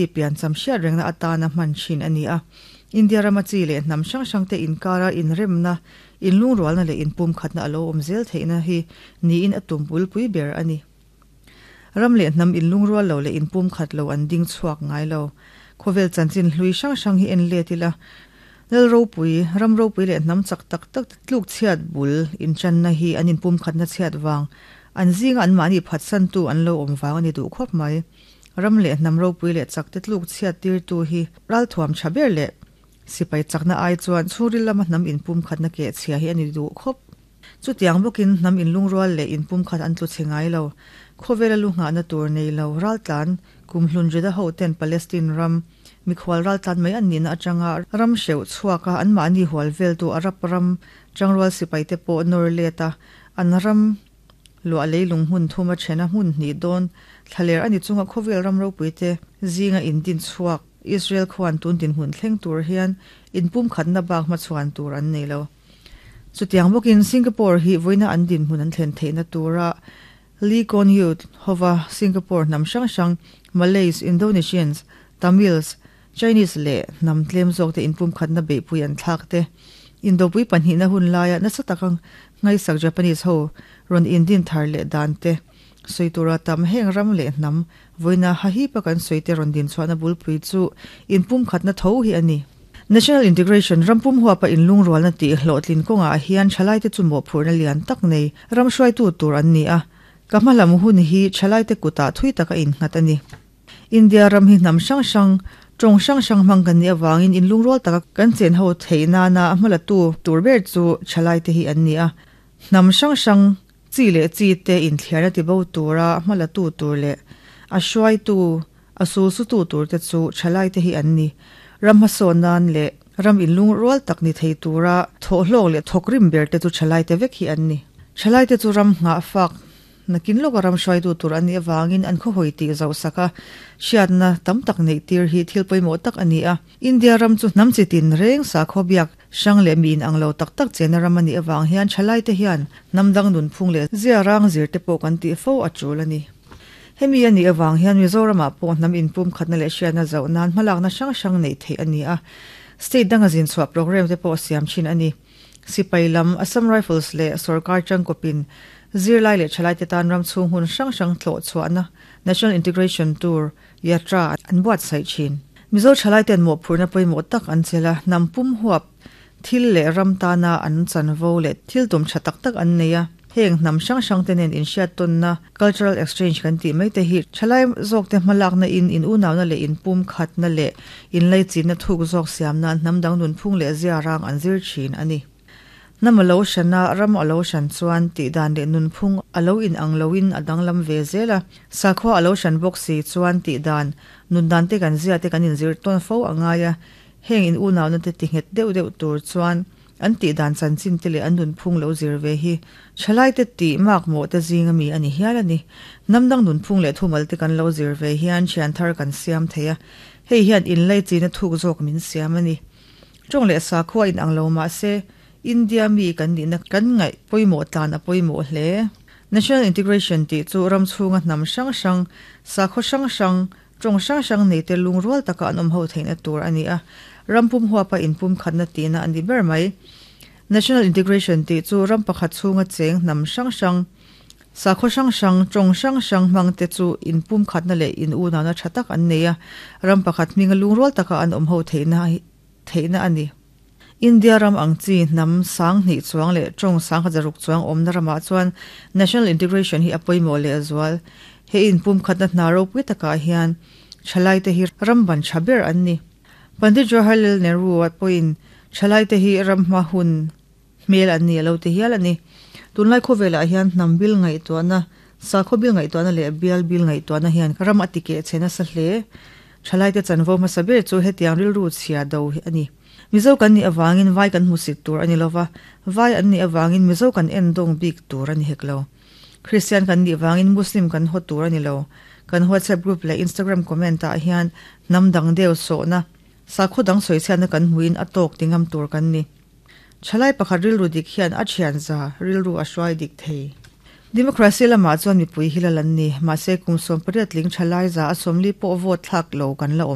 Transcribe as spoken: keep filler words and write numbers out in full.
Piancham hriat rengna atana hman thin a ni a. India rama chi leh hnam hrang hrang te inkara inremna, inlungrualna leh inpumkhatna a lo awm zel theihna hi niin a tum bulpui ber a ni. Ram leh hnam inlungrual lo leh inpumkhat lo an ding chhuak ngai lo. Khawvel chanchin hlui hrang hrang hi en let ila. Lal ropui, ram ropui leh hnam chak tak tak tluk chhiat bul inchanna hi an inpumkhatna chhiat vang. An zinga an mahni phatsantu an lo awm vang a ni duh khawp mai. Ram leh hnam ropui leh chak te tluk chhiat tirtu hi ralthuam tha ber leh sipai chakna ai chuan chhungril lama hnam inpumkhatna keh chhia hi a ni duh khawp. Chutiang bawkin hnam inlungrual leh inpumkhat an tlu chhe ngai lo. Khawvela lu nghahna tur nei lo raltlan kumhlun Juda ho ten Palestine ram mikhual raltlan mai an nihna atanga ram hreuh chhuaka an mahni hual veltu Arab ram tangrual sipai te pawh nawr let a an ram luah leilung hmun thuma thena hmun hnih dawn thlaler ani chunga khawvel ram ropui te zinga indin chhuak Israel khuan tun din hun thleng tur hian inpumkhatna bak hma chhuan tur an nei lo. Chutiang bawkin Singapore hi voina an din hmun an thlen theihna tura Lee Kuan Yew hova Singapore hnam hrang hrang Malays, Indonesians, Tamils, Chinese leh hnam tlem zawk te inpumkhatna beihpui an thlak te. Indopui pahnihna hun laia nasa takang ngaisak Japanese ho rawn indin thar leh dan te. Soitura tam heng ram leh hnam voina hahi pa kan soite rawn din chuana bulpui chu inpumkhatna tho hi ani. National Integration rampum huapa inlungrualna tih hlawhtlin kawngah hian thalai te chu mawhphurhna lian tak nei ram hruaitu tur an ni a. Ka hmalam hun hi thalai te kutah thui taka innghat a ni. India ram hi hnam hrang hrang tawng hrang hrang hmang kan ni awangin inlungrual taka kan chen ho theihna na hmalatu tur ber chu thalai te hi an ni a. Hnam hrang hrang chi leh chi te inthliarna ti bo tura hmalatu tur leh a hruaitu a sulsutu tur te chu thalai te hi an ni. Ram hmasawn nan leh ram inlungrual tak ni thei tura thawhhlawk leh thawkrim ber te chu thalai te vek hi an ni. Thalai te chu ram nghah fak nakin lawka ram hruaitu tur an ni awangin an khawhawi tih zauh saka hriatna tam tak neih tir hi thil pawimawh tak a ni a. India ram chu hnam chi tin reng sakhaw biak hrang leh mi inang lo tak tak chena ram a ni awang hian thalai te hian hnam dang nun phung leh zia rang zir te pawh kan tih fo a tul a ni. Hemi a ni awang hian Mizoramah pawh hnam inpumkhatna leh hriatna zauh nan hmalakna hrang hrang neih theih a ni a. State danga zin chhuah program te pawh siam thin a ni. Sipai lam Assam Rifles leh Sarkar Changkopin zirlai leh thalai te tan ram chhung hun hrang hrang thlawh chhuahna National Integration Tour Yatra an buat sai thin. Mizo thalai ten mawhphurhna pawimawh tak an chela hnam pum huap thil leh ram tana an chanvo leh thil tum tha tak tak an nei a. Heng hnam hrang hrang te nen inhriat tawnna cultural exchange kan tih mai te hi thalai zawk te hmalakna in in unawna leh inpumkhatna leh inlaichinna thuk zawk siamna hnam dang nun phung leh zia rang an zir thin a ni. Hnam a lo hrana ram a lo hran chuan tih dan leh nun phung a lo in ang loin a danglam ve zel a. Sakhua a lo hran bawk si chuan tih dan nun dan te kan zia te kan inzir tawn fo a ngai a. Heng in unawna te ti nghet deuh deuh tur chuan an tih dan chanchin te leh an nun phung lo zir ve hi thalai te tih mak mawh te zinga mi a ni hial a ni. Hnam dang nun phung leh thumal te kan lo zir ve hian thian thar kan siam thei a. Hei hian inlaichinna thuk zawk min siam a ni. Tawng leh sakhua in ang lo mah se India mi kan nihna kan ngaih pawimawh tlan a pawimawh hle. National Integration tih chu ram chhunga hnam hrang hrang sakhaw hrang hrang tawng hrang hrang nei te lungrual taka an awm ho theihna tur a ni a. Ram pum huapa inpumkhatna tihna a ni ber mai. National Integration tih chu ram pakhat chhunga cheng hnam hrang hrang sakhaw hrang hrang tawng hrang hrang hmang te chu inpumkhatna leh in unawna tha tak an nei a. Ram pakhat hminga lungrual taka an awm ho theihna theihna a ni. India ram ang chi hnam sang hnih chuang leh tawng sang kha zaruk chuang awmna ramah chuan National Integration hi a pawimawh leh zual. He inpumkhatna hna ropui takah hian thalai te hi ram ban tha ber an ni. Pandit Jawaharlal Nehru a pawhin thalai te hi ram hma hun hmel an ni a lo ti hial a ni. Tunlai khawvelah hian hnam bil ngaihtuahna sakhaw bil ngaihtuahna leh bial bil ngaihtuahna hian ram a ti keh che nasa hle. Thalai te chanvo hmasa ber chu hetiang rilru chhia do hi a ni. Mizo kan ni awangin vai kan hmusit tur ani lova vai an ni awangin Mizo kan en dawng bik tur ani hek lo. Christian kan ni awangin Muslim kan haw tur ani lo. Kan WhatsApp group leh Instagram comment ah hian hnam dang deuh sawhna sakhaw dang sawichhiatna kan hmuin a tawk tingam tur kan ni. Thalai pakhat rilru dik hian a thian za rilru a hruai dik thei. Democracy lama chuan mipui hi lalan ni ma se kum som pariat ling thalai za a somli po vote thak lo kan la om.